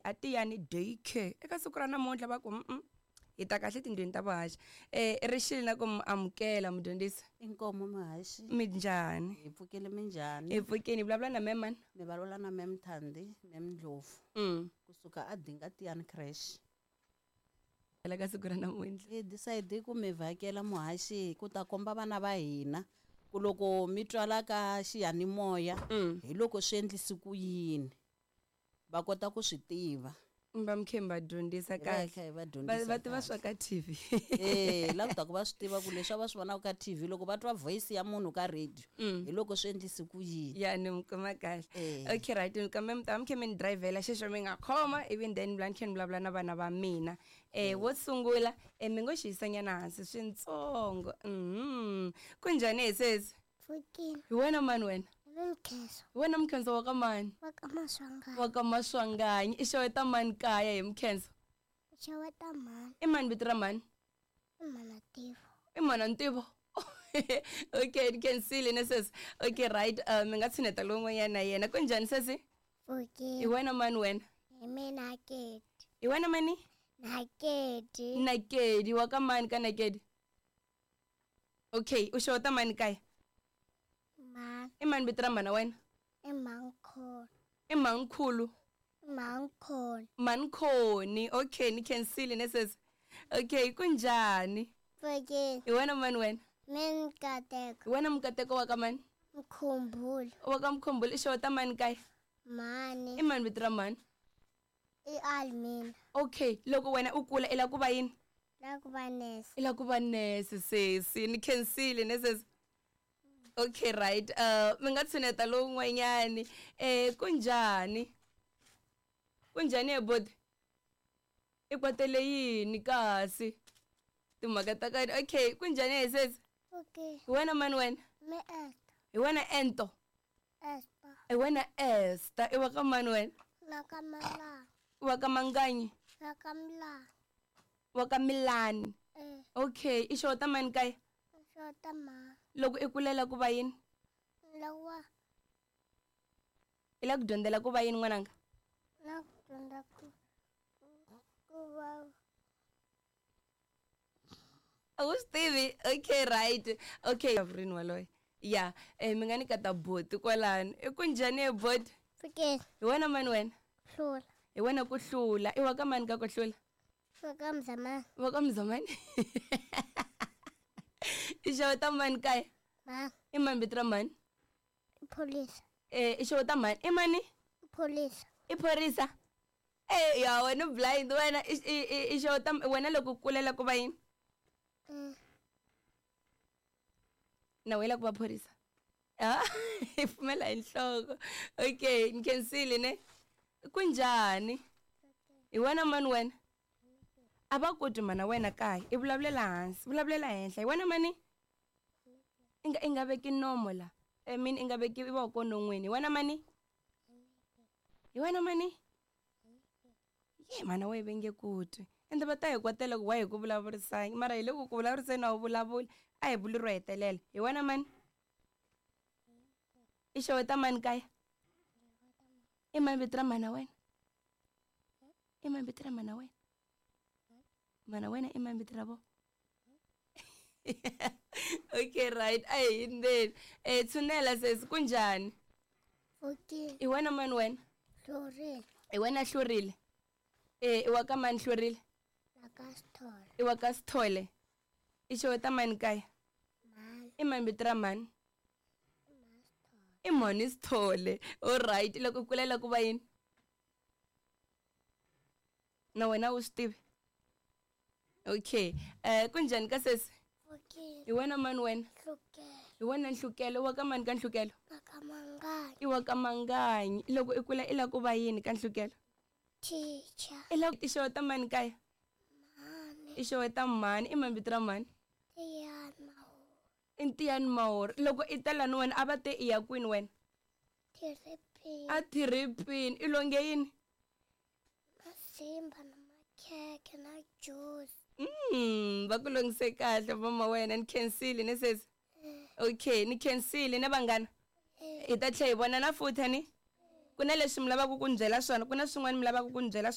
A Tiyani Day Care eka siku ra namuntlha va ku hi ta kahle tindlwini ta vuhaxi. Rixile na ku mi amukela mudyondzisi. Inkomo muhaxi. Minjhani? Hi pfukile minjhani? Hi pfukile. Hi vulavula na ma'am mani? Mi vulavula na ma'am Thandi, ma'am Ndlovu. Kusuka a Dinga Tiyani Creche. Ka siku ra namuntlha. Hi decide ku mi vhakela muhaxi ku ta komba vana va hina ku loko mi twala ka xiyanimoya hi loko swi endlisi ku yini va kota ku swi tiva. Va mi khe mi va dyondzisa Hi va hi kahle. kha hi va Va dyondzisa va tiva kahle. swa ka TV. La ku ta ku va swi tiva ku leswi a va swi vonaka ka TV loko va twa voice ya munhu ka radio hi loko swi endlisi ku yini. Ya ni mi kuma kahle. Okay right, kambe mi ta mi khe mi ni drivela xexo mi nga khoma ivi then ni khe ni vulavula na vana va mina. Wo sungula mi ngo xi yisanyana hansi swintsongo. Kunjhani he sesi? Pfukile. Hi wena mani wena? Mkhenso. Hi wena Mkhenso wa ka mani? Wa ka Maswanganyi. Wa ka Maswanganyi. I xeweta mani kaya hi Mkhenso? Xeweta mhani. I mani vito ra mhani? I mhana Ntivo. I mhana Ntivo. Okay, ni khensile ne sesi. Okay right, mi nga tshineta lowun'wanyana na yena. Kunjhani sesi? Pfukile. Hi wena mani wena? Hi mina Nakedi. Hi wena mani? Nakedi. Nakedi wa ka mani ka Nakedi? Okay, u xeweta mani kaya? Mhani. I mani vito ra mhana wena? I Mhankhulu. I Mhankhulu. Mhankhoni. Mhankhoni. Okay, ni khensile ne sesi. Okay, kunjhani? Pfukile. Hi wena mani wena? Mina Mkateko. Hi wena Mkateko wa ka mani? Mkhumbula. Wa ka Mkhumbula. I xeweta mani kaya? Mhani. I mani vito ra mhani? I Almina. Okay, loko wena u kula i lava ku va yini? La ku va nese. I lava ku va nese sesi. Ni khensile ne sesi. Okay right, mi nga tshineta lowun'wanyani. Kunjhani? Kunjhani he boti? I kwatele yini kasi? Timhaka ta ka. Okay, kunjhani he sesi? Okay. Hi wena mani wena? Me Esther. Hi wena Ento. Esther. Hi wena Esther. I wa ka mani wena? La ka Malani. Wa ka Manganyi? La ka Milani. Wa ka Milani. Okay, i xeweta mani kaya? Xeweta mhani. Loko i kulela ku va yini? Lawa. I lava ku dyondzela ku va yini n'wananga? Na ku dyondza ku va. A wu swi tivi? Okay right. Okay, rini waloye. Ya, mi nga ni kata boti kwalano. I kunjhani he boti? Pfukile. Hi wena mani wena? Hlula. Hi wena ku hlula. I wa ka mani ka ku hlula? Wa ka Mzamani. Wa ka Mzamani. I xeweta mani kaya? Mhani. I mani vito ra mhani? Pholisa. I xeweta mhani. I mani? Pholisa. I phorisa? Ya wena u blind wena. I xeweta wena loko u kulela ku va yini? Na wena ku va phorisa? I pfumela hi nhloko. Okay, ni khensile ne. Kunjhani? Hi wena mani wena? A va koti mana wena kaya. I vulavulela hansi, vulavulela henhla. Hi wena mani? I nga veki nomo la. I mean i nga veki voko non'wini. Hi wena mani? Hi wena mani? Ye mana we ve nge ku twi. Ende va ta hi kwatela ku wa hi ku vulavurisani. Mara hi le ku ku vulavuriseni a wu vulavuli. A hi vuli ro hetelela. Hi wena mani? I xeweta mani kaya? I mani vito ra mana wena? I mani vito ra mana wena? Mana wena i mani vito ra vona? Okay right, a hi hindzeni. Tshunela sesi, kunjhani? Pfukile. I wena mani wena? Hlurile. I wena Hlurile. I wa ka mani Hlurile? La ka Sithole. I wa ka Sithole. I xeweta mani kaya? Mhani. I mani vito ra mhani? I mhani Sithole. All right, loko u kulela ku va yini? Na wena u swi tivi? Okay, kunjhani ka sesi? Pfukile. Hi wena mani wena? Nhlukelo. Hi wena Nhlukelo. Wa ka mani ka Nhlukelo? Wa ka Manganyi. I wa ka Manganyi. Loko i kula i lava ku va yini ka Nhlukelo? Teacher. I lava i xeweta mani kaya? Mhani. I xeweta mhani. I mani vito ra mhani? Tiyani Mahori. I Ntiyani Mahori. Loko i ta lani wena a va te i ya kwini wena? Thiripini. A thiripini. I longe yini? Masimba na makhekhe na juice. Va ku longise kahle mama wena. Ni khensile ne sesi? Okay, ni khensile ne vanghana. Hi ta tlhela hi vonana futhi ni? Ku na leswi mi lavaka ku ni byela swona, ku na swin'wana mi lavaka ku ni byela